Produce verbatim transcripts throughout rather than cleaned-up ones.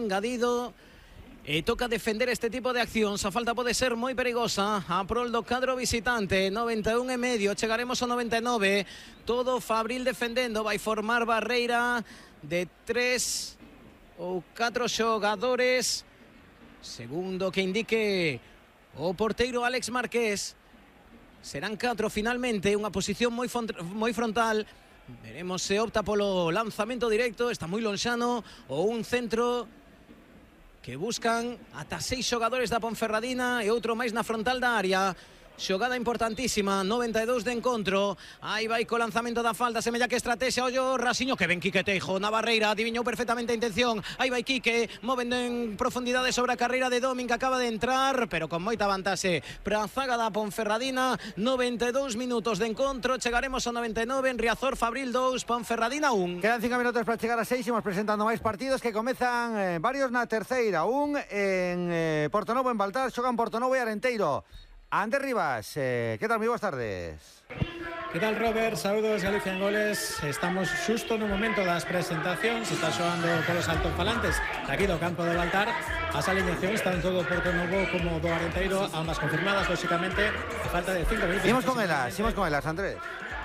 engadido. E toca defender este tipo de accións. A falta pode ser moi perigosa a prol do cadro visitante. noventa e un e medio, chegaremos ao noventa e nove. Todo Fabril defendendo. Vai formar barreira de tres ou catro xogadores, segundo que indique o porteiro Alex Márquez. Serán catro finalmente, unha posición moi, moi frontal. Veremos se opta polo lanzamento directo, está moi lonxano, ou un centro que buscan ata seis xogadores da Ponferradina e outro máis na frontal da área. Xogada importantísima, noventa e dous de encontro. Aí vai co lanzamento da falta, semella que estrategia. Ollo Rasiño, que ven Quique Teijo na barreira, adiviñou perfectamente a intención. Aí vai Quique, movendo en profundidade sobre a carreira de Domin, que acaba de entrar, pero con moita vantaxe para a zaga da Ponferradina. noventa e dous minutos de encontro, chegaremos ao noventa e nove. En Riazor, Fabril dous, Ponferradina un. Quedan cinco minutos para chegar a seis, imos presentando máis partidos que comezan eh, varios na terceira. Un en eh, Portonovo, en Baltar, xogan Portonovo e Arenteiro. Ander Rivas, eh, ¿qué tal? Muy buenas tardes. ¿Qué tal, Robert? Saludos, Galicia en Goles. Estamos xusto no momento das presentacións. Está xoando polos altofalantes aquí do campo do Baltar. As alineacións están todo Portonovo como do Arenteiro, ambas confirmadas, lógicamente, a falta de cinco minutos. Imos con elas, imos con elas, Andrés.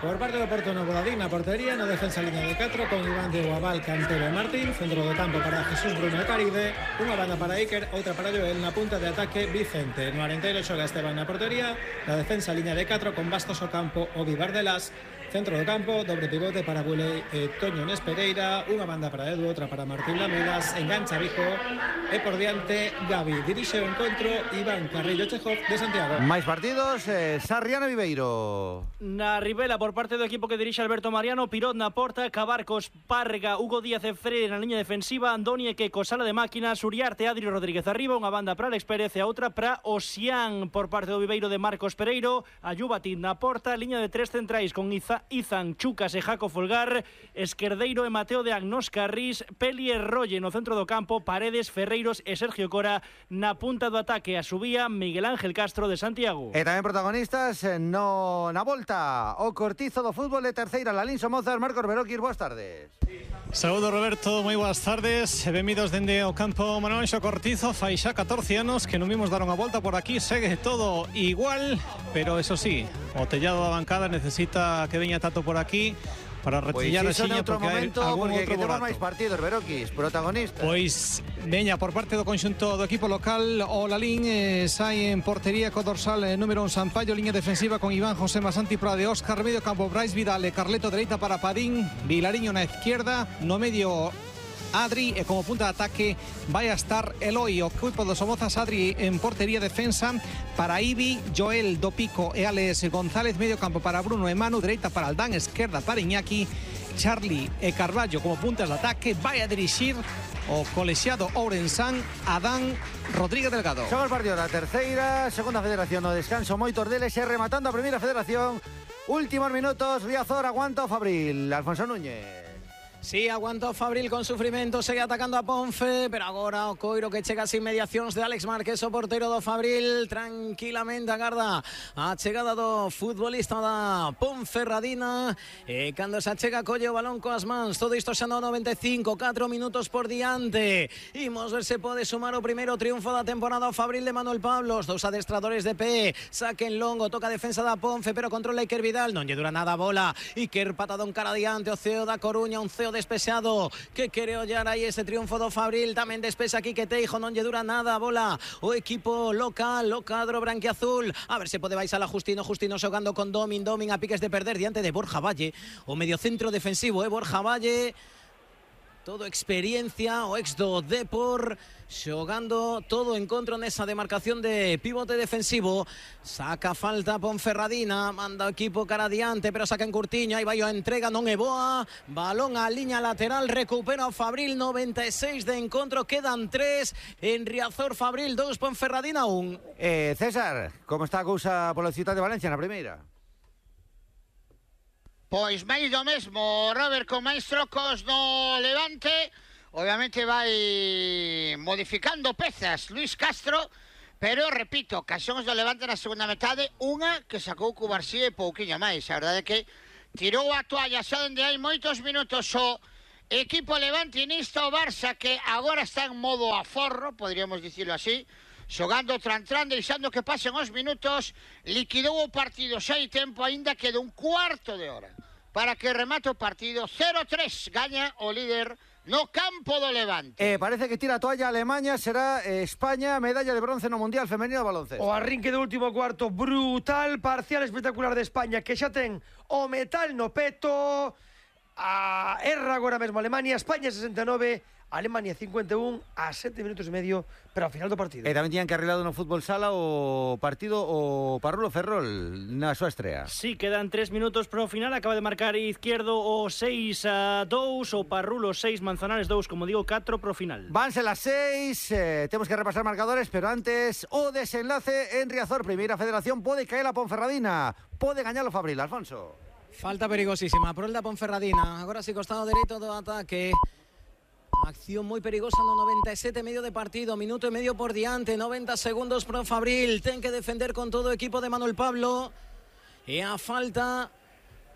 Por parte do Portonovo, Dadín na portería, na defensa línea de catro, con Iván de Guabal, Cantero e Martín, centro do campo para Jesús Bruno e Caride, unha banda para Iker, outra para Joel, na punta de ataque Vicente. No Arenteiro xoga Esteban na portería, na defensa línea de catro, con Bastos ao campo, o Vivar de las, centro do campo, dobre pivote para Bulei e Toño Nes Pereira, unha banda para Edu, outra para Martín Lamelas, engancha Vijo, e por diante Gavi. Dirixe o encontro Iván Carrillo Chejov de Santiago. Máis partidos, eh, Sarriano Viveiro. Na Ribela, por parte do equipo que dirixe Alberto Mariano, Pirot na porta, Cabarcos, Parga, Hugo Díaz e Freire na liña defensiva, Andoni e Queco, sala de máquinas, Uriarte, Adri Rodríguez arriba, unha banda para Alex Pérez e a outra para Osián. Por parte do Viveiro de Marcos Pereiro, Ayubatín na porta, liña de tres centrais con Iza, Izan, Chucas e Jaco Folgar, Esquerdeiro e Mateo de Agnós Carrís, Peli e Rolle no centro do campo, Paredes, Ferreiros e Sergio Cora na punta do ataque. A subía Miguel Ángel Castro de Santiago. E tamén protagonistas no na volta o Cortizo do fútbol de terceira, Lalín Somozas, Marcos Beroquis, boas tardes. Saúdo, Roberto, moi boas tardes. Benvidos dende o campo Manuel Anxo Cortizo. Fai xa catorce anos que non vimos dar unha volta por aquí. Segue todo igual, pero eso sí, o tellado da bancada necesita que veña Tato por aquí para retillar pois a xiña, porque hai algún porque outro temos borato. máis partidos, Beroquis, protagonistas. Pois veña por parte do conxunto do equipo local, o Lalín eh, sai en portería co dorsal eh, número un Sampaio, liña defensiva con Iván José Masanti Prade, Óscar, medio campo Brais Vidal e Carleto, dereita para Padín, Vilariño na izquierda, no medio Adri, e como punta de ataque vai a estar Eloi. O equipo do Somozas, Adri en portería, defensa para Ibi, Joel do Pico e Alex González, medio campo para Bruno e Manu, dereita para Aldán, esquerda para Iñaki, Charlie e Carballo como puntas de ataque. Vai a dirixir o colexiado Ourensán, Adán Rodríguez Delgado. Son os partidos da terceira, segunda federación no descanso, moitos deles, e rematando a primeira federación. Últimos minutos, Riazor aguanta o Fabril, Alfonso Núñez. Sí, aguanta o Fabril con sufrimento, segue atacando a Ponfe, pero agora o coiro que chega as inmediacións de Alex Márquez, o porteiro do Fabril, tranquilamente agarda a chegada do futbolista da Ponferradina, e cando se achega colle o balón coas mans. Todo isto xa no noventa e cinco, catro minutos por diante. Imos ver se pode sumar o primeiro triunfo da temporada o Fabril de Manuel Pablos. Dous adestradores de pé, saquen longo, toca a defensa da Ponfe, pero controla Iker Vidal, non lle dura nada a bola. Iker patadón cara adiante, o ceo da Coruña, un ceo despexado que quere ollar aí ese triunfo do Fabril. Tamén despexa aquí que Teijo, non lle dura nada a bola o equipo local, o cadro branquiazul. A ver se pode baixar a Justino, Justino xogando con Domin, Domin a piques de perder diante de Borja Valle, o mediocentro defensivo, eh, Borja Valle, todo experiencia, o ex do Depor, xogando todo encontro nesa demarcación de pivote defensivo. Saca falta Ponferradina, manda o equipo cara adiante, pero saca en Curtiño, aí vai a entrega, non é boa, balón a liña lateral, recupera o Fabril, noventa e seis de encontro, quedan tres, en Riazor Fabril dous, Ponferradina un. Eh, César, como está a cousa polo Ciutat de Valencia na primeira? Pois máis do mesmo, Robert, con máis trocos no Levante. Obviamente vai modificando pezas Luis Castro, pero repito, ocasións do Levante na segunda metade, unha que sacou Cubarsí e pouquiño máis. A verdade é que tirou a toalla xa dende hai moitos minutos o equipo levantinista, o Barça que agora está en modo aforro, podríamos dicirlo así, xogando tran tran, deixando que pasen os minutos, liquidou o partido xa hai tempo, aínda queda un cuarto de hora para que remate o partido. Cero tres gaña o líder no campo do Levante. Eh, parece que tira a toalla Alemania, será eh, España, medalla de bronce no Mundial Femenino de Baloncesto. O arrinque do último cuarto brutal, parcial espectacular de España, que xa ten o metal no peto. A erra agora mesmo Alemania, España sesenta e nove, Alemania cincuenta e un, a sete minutos e medio para o final do partido. E tamén tiñan que arreglado no fútbol sala o partido o Parrulo Ferrol na súa estrea. Sí, quedan tres minutos para o final. Acaba de marcar Izquierdo o seis a dous, o Parrulo seis, Manzanares dous, como digo, catro para o final. Vanse las seis, eh, temos que repasar marcadores, pero antes o desenlace en Riazor. Primeira Federación, pode caer a Ponferradina, pode gañar o Fabril. Alfonso. Falta perigosísima por el da Ponferradina. Agora sí, costado dereito do ataque. Acción moi perigosa no noventa e sete e medio de partido, minuto e medio por diante, noventa segundos pro Fabril, ten que defender con todo o equipo de Manuel Pablo, e a falta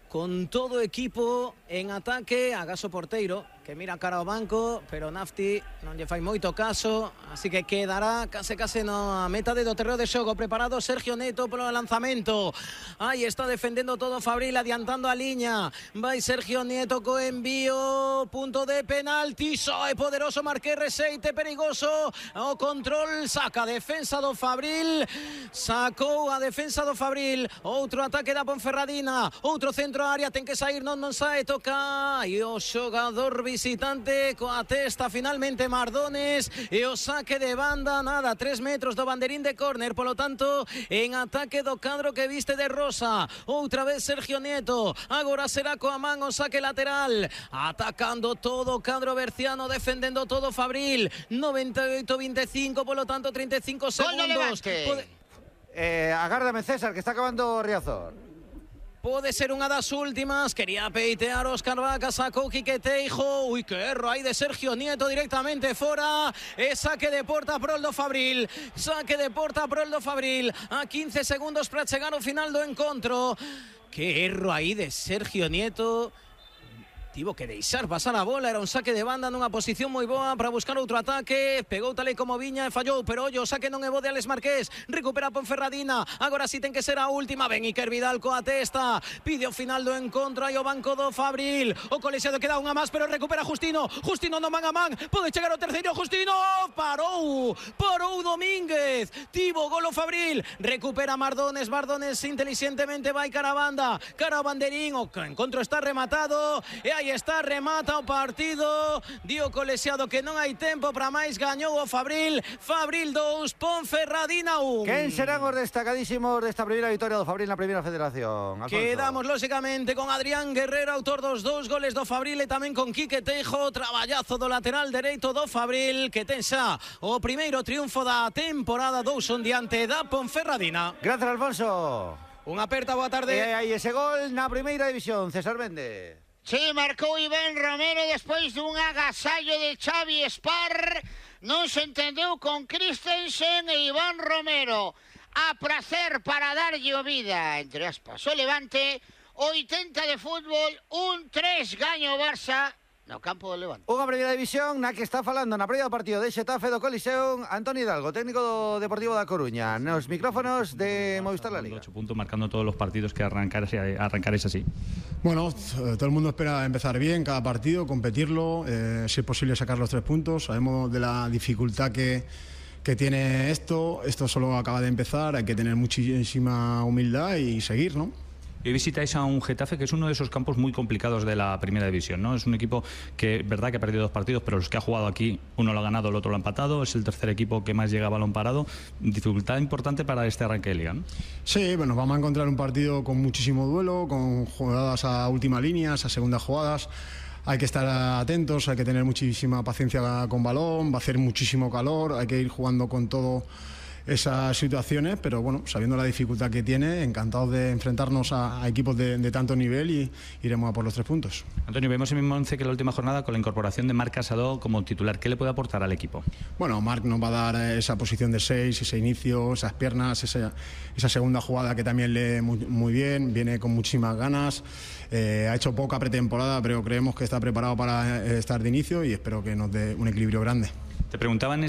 con todo o equipo en ataque, agaso porteiro, que mira cara ao banco, pero Nafti non lle fai moito caso, así que quedará case case na meta de do terreo de xogo. Preparado Sergio Neto polo lanzamento, aí está defendendo todo Fabril, adiantando a liña, vai Sergio Neto co envío, punto de penalti, soe poderoso Marqués Reseite, perigoso, o control, saca a defensa do Fabril, sacou a defensa do Fabril, outro ataque da Ponferradina, outro centro área, ten que sair, non non sae, toca, e o xogador visitante coa testa finalmente Mardones, e o saque de banda, nada, tres metros do banderín de córner, polo tanto en ataque do cadro que viste de rosa. Outra vez Sergio Nieto, agora será coa man o saque lateral, atacando todo o cadro berciano, defendendo todo Fabril. Noventa e oito veinticinco, polo tanto trinta e cinco segundos. Pode... eh, agárdame César, que está acabando Riazor. Pode ser unha das últimas. Quería peitear Óscar Vaca, sacou Quique Teijo. Ui, que erro aí de Sergio Nieto, directamente fora. E saque de porta pro el do Fabril. Saque de porta pro el do Fabril. A quince segundos para chegar ao final do encontro. Que erro aí de Sergio Nieto. Tivo que deixar pasar a bola, era un saque de banda nunha posición moi boa para buscar outro ataque, pegou tal e como viña e fallou, pero ollo, o saque non é bo de Alex Marqués, recupera Ponferradina, agora sí ten que ser a última, ven Iker Vidal coa testa, pide o final do encontro, aí o banco do Fabril, o colexiado queda unha máis, pero recupera Justino, Justino no man a man, pode chegar o terceiro, Justino, parou, parou Domínguez, tivo golo Fabril, recupera Mardones, Mardones inteligentemente vai cara a banda, cara ao banderín, o encontro está rematado, e aí está, remata o partido, dio colexiado que non hai tempo para máis, gañou o Fabril, Fabril dous, Ponferradina un. Quen serán os destacadísimos desta primeira victoria do Fabril na Primeira Federación? Alfonso. Quedamos lóxicamente con Adrián Guerrero, autor dos dous goles do Fabril, e tamén con Quique Teijo, traballazo do lateral dereito do Fabril, que ten xa o primeiro triunfo da temporada, dous son diante da Ponferradina. Gracias, Alfonso. Unha aperta, boa tarde. E aí ese gol na Primeira División, César Méndez. Sí, marcou Iván Romero despois dun agasallo de Xavi Spar. Non se entendeu con Christensen e Iván Romero. A prazer para darlle o vida, entre aspas, o Levante. oitenta de fútbol, un tres gaño o Barça no campo do Levante. Unha Primeira División na que está falando na previa do partido de Xetafe do Coliseo Antonio Hidalgo, técnico do Deportivo da Coruña, nos micrófonos de Movistar La Liga. ocho puntos marcando todos los partidos que arrancar, arrancar es así. Bueno, todo el mundo espera empezar bien cada partido, competirlo, eh, si es posible sacar los tres puntos. Sabemos de la dificultad que, que tiene esto, esto solo acaba de empezar, hay que tener muchísima humildad y seguir, ¿no? Hoy visitáis a un Getafe que es uno de esos campos muy complicados de la Primera División, ¿no? Es un equipo que, verdad que ha perdido dos partidos, pero los que ha jugado aquí, uno lo ha ganado, el otro lo ha empatado, es el tercer equipo que más llega a balón parado. Dificultad importante para este arranque de liga, ¿no? Sí, bueno, vamos a encontrar un partido con muchísimo duelo, con jugadas a última línea, a segundas jugadas. Hay que estar atentos, hay que tener muchísima paciencia con balón, va a hacer muchísimo calor, hay que ir jugando con todo esas situaciones, pero bueno, sabiendo la dificultad que tiene, encantados de enfrentarnos a, a equipos de, de tanto nivel y iremos a por los tres puntos. Antonio, vemos el mismo once que la última jornada con la incorporación de Marc Casado como titular. ¿Qué le puede aportar al equipo? Bueno, Marc nos va a dar esa posición de seis, ese inicio, esas piernas, esa, esa segunda jugada que también lee muy, muy bien, viene con muchísimas ganas, eh, ha hecho poca pretemporada, pero creemos que está preparado para estar de inicio y espero que nos dé un equilibrio grande. Te preguntaban